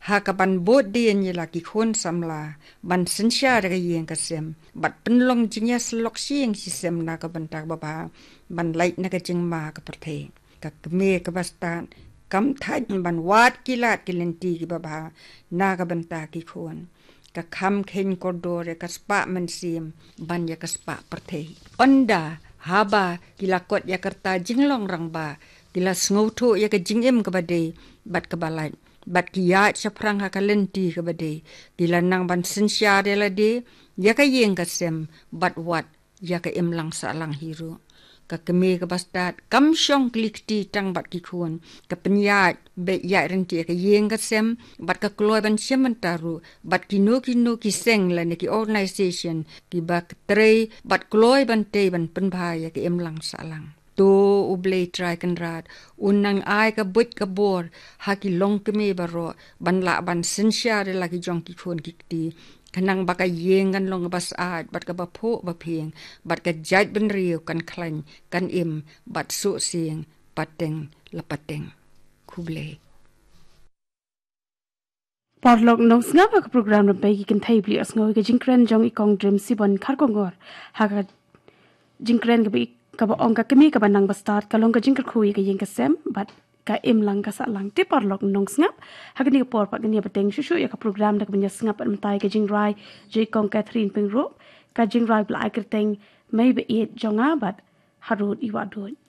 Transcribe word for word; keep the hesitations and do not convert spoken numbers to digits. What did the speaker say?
ha ka ban bud dien ïa la ki khun samla ban synshar ïa ka ïing ka sem bad pynlong jingïasyllok shisien shisem na ka bynta kaba bha ban lait na ka jingma ka pyrthei. Ka kmie kaba stad kam thait ban wad ki lad ki lynti kiba bha na ka bynta ki khun. Ka kham kheiñ kordor ïa ka spah mynsiem ban ïa ka spah pyrthei. Ynda haba ki la kot ïa ka rta jinglong rangbah, ki la sngewthuh ïa ka jingim kaba dei bad kaba lait, bad ki ïaid shaphrang ha ka lynti kaba dei, ki la nang ban synshar ïa lade, ïa ka ïing ka sem, bad wat ïa ka imlang sahlang hi ruh. Ka kmie kaba stad kam shong kli kti tang bad ki khun, ka pynïaid beit ïaid ryntih ïa ka ïing ka sem bad ka kloi ban shim bynta ruh bad kino kino ki seng lane ki organisation kiba trei bad kloi ban tei ban pynbha ïa ka imlang sahlang. To U Blei Trai Kynrad un nang ai ka buit ka bor ha ki longkmie baroh ban lah ban synshar ïa la ki jong ki khun ki kti, khnang ba ka ïing kan long kaba syaid bad kaba phuh ba phieng, bad ka jaitbynriew kan khlaiñ, kan im bad suh sieng pateng la pateng. Khublei. Paralok nongsngap, ha ka program Rympei ki Kynthei ba la ïohsngew ïa ka jingkren jong i Kong Drimsibon Kharkongor ha ka jingkren kaba, kaba ong ka kmie kaba nang ba stad ka long ka jingkyrkhu ïa ka ïing ka sem bad ka imlang ka sahlang. Te paralok nongsngap, ha kane ka por pat ngin ïa bteng shuh shuh ïa ka program da kaba ïa sngap bad mynta ïa ka jingrwai jong i Kong Catherine Pyngrope, ka jingrwai ba la ai kyrteng Mei Baieit jong nga bad Harud Iwahduid.